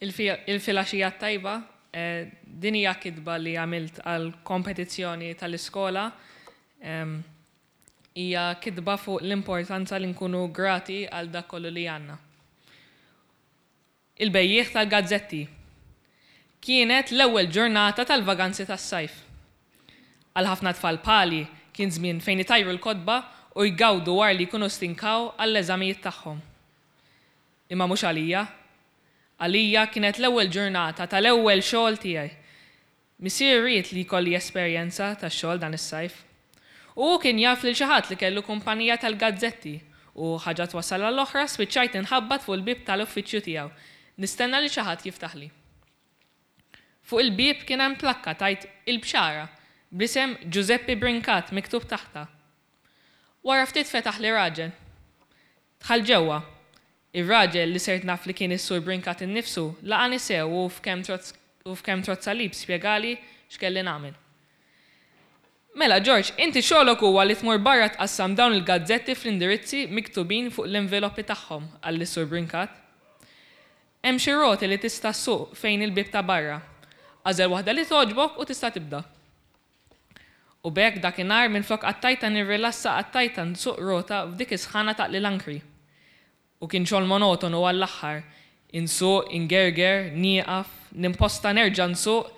Il-filgħaxija t-tajba, din hija kitba li għamilt għal kompetizzjoni tal-iskola. Hija kitba fuq l-importanza li nkunu grati għal dak kollu li għandna. Il-bejjiegħ tal-gazzetti. Kienet l-ewwel ġurnata tal-vaganzi tas-sajf. Għal ħafna tfal bħali kien żmien fejn itajru l-kotba u jgawdu wara li jkunu stinkaw għall-eżamijiet tagħhom. Imma mhux għalija. Għalija kienet l-ewwel ġurnata tal-ewwel xogħol tiegħi. Missieri ried li jkolli esperjenza ta' xogħol dan is-sajf. U hu kien jaf lil xi ħadd li kellu kumpanija tal-gazzetti u, ħaġa twassal għall-oħra, spiċċajt inħabbat fuq il-bieb tal-uffiċċju tiegħu, nistenna lil xi ħadd jiftaħli. Fuq il-bieb kien hemm plakka tgħid Il-Bxara, bl-isem Ġużeppi Brincat miktub taħtha. Wara ftit fetaħli raġel. Dħalt ġewwa. Ir-raġel, li sirt naf li kien is-Sur Brincat innifsu, laqani sew u f'kemm u f'kemm trodd salib spjegali x'kelli nagħmel. Mela, Ġorġ, inti xogħlok huwa li tmur barra tqassam dawn il-gazzetti fl-indirizzi miktubin fuq l-inviloppi tagħhom, qalli s-Sur Brincat. Hemm xi roti li tista' ssuq fejn il-bieb ta' barra. Agħżel waħda li togħġbok u tista' tibda. U b'hekk dakinhar minflok qattajtha nirrilassa qattajtha nsuq rota f'dik is-sħana taqli l-ankri. U kien xogħol monotonu għall-aħħar, insuq, ingerger, nieqaf, nimposta nerġa' nsuq,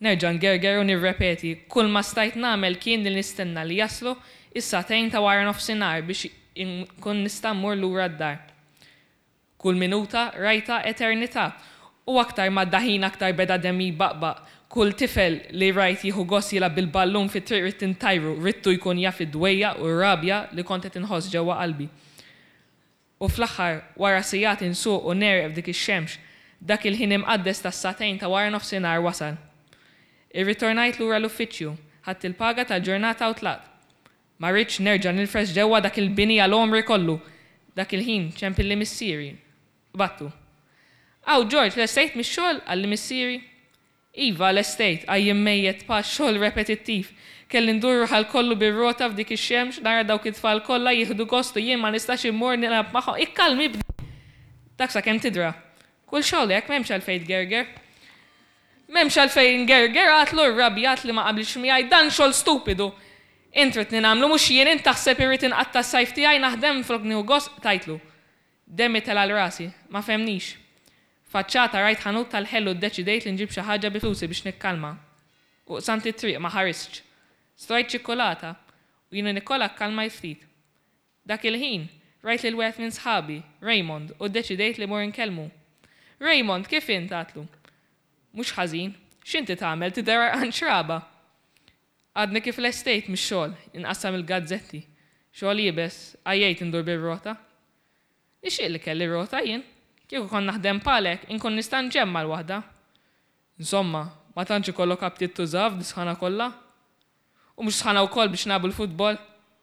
nerġa' ngerger u nirrepeti. Kulma stajt nagħmel kien li nistenna li jaslu s-sagħtejn ta' waranofsinhar biex inkun nista' mmur lura d-dar. Kull minuta rajtha eternità. U aktar m'għadda ħin aktar beda demmi jbaqbaq. Kull tifel li rajt jieħu gost jilgħab bil-ballun fit-triq ridt intajru, ridtu jkun jaf id-dwejjaq u r-rabja li kont qed inħoss ġewwa qalbi. U fl-aħħar, wara sigħat insuq u negħreq f'dik ix-xemx, dak il-ħin imqaddes tas-sagħtejn ta' waranofsinhar wasal. Irritornajt lura l-uffiċċju, ħadt il-paga tal-ġurnata u tlaqt. Ma ridtx nerġa' nilfres ġewwa dak il-bini għal għomri kollu. Dak il-ħin ċempilli missieri. Qbadtu. Aw, Ġorġ, lestejt mix-xogħol? qalli missieri. Iva, lestejt, għajjien mejjet pa' xogħol repetittiv. Kelli ndur raħal kollu bir-rota f'dik ix-xemx, nara dawk it-tfal kollha jieħdu gost u jien ma nistax immur nilgħab magħhom. Ikkalmi, ibni! Dak sakemm tidra. Kull xogħol hekk, m'hemmx għalfejn tgerger. M'hemmx għalfejn ingerger, għadtlu rrabjat li ma qablitx miegħi, dan xogħol stupidu! Int ridtni nagħmlu mhux jien, int taħseb irrid inqatta' s-sajf tiegħi naħdem minflok nieħu gost, qtajtlu. Demmi tela' 'l rasi. Ma fehmnix. Faċċata rajt ħanut tal-ħelu ddeċidejt li nġib xi ħaġa bi flusi biex nikkalma. U qsamt it-triq, ma ħaristx. Strajt ċikkulata u jiena nikolha kkalmajt ftit. Dak il-ħin, rajt lil wieħed minn sħabi, Raymond, u ddeċidejt li mmur inkellmu. Raymond, kif int? għadtlu. Mhux ħażin. X'inti tagħmel, tidher għarqan xraba. Għadni kif lestejt mix-xogħol, inqassam il-gazzetti. Xogħol iebes, għajjejt indur bir-rota. Nixtieq li kelli rota jien. Kieku kont naħdem bħalek, inkun nista' nġemma' l-waħda. Insomma, ma tantx ikollok aptit tużaha f'dis-sħana kollha? U mhux sħana wkoll biex nilagħbu l-futbol?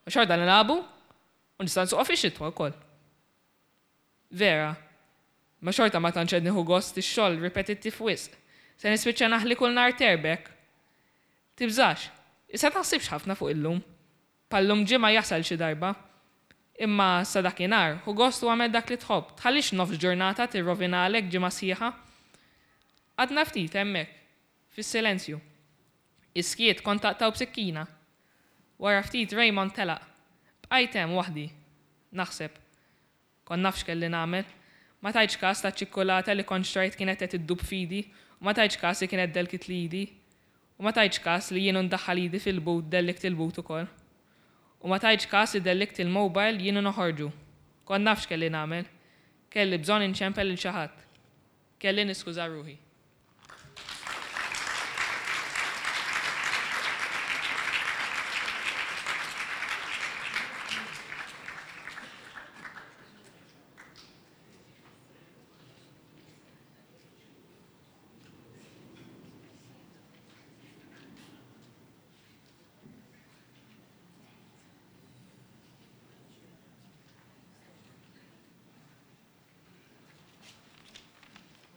Ma xorta nilagħbu u nista' nsuqha fix-xitwa wkoll. Vera. Imma xorta ma tantx qed nieħu gost, ix-xogħol ripetittiv wisq. Se nispiċċa naħli kull nhar terb hekk. Tibżax. Issa taħsibx ħafna fuq illum. Bħal-lum ġimgħa jasal xi darba. Imma sa dakinhar, ħu gost u agħmel dak li tħobb, tħallix nofs ġurnata tirrovinalek ġimgħa sħiħa. Qgħadna ftit hemmhekk, fis-silenzju. Is-skiet kont taqtgħu b'sikkina. Wara ftit Raymond telaq. Bqajt hemm waħdi. Naħseb. Kont naf x'kelli nagħmel. Ma tajtx kas taċ-ċikkulata li kont xtrajt kienet qed iddub f'idi u ma tajtx kas li kienet delkitli idi. U ma tajtx kas li jien u ndaħħal idi fil-but dellikt il-but ukoll. U ma tajtx kas li dellikt il-mobile jien u noħorġu. Kont naf x'kelli nagħmel. Kelli bżonn inċempel lil xi ħadd. Kelli niskuża ruħi.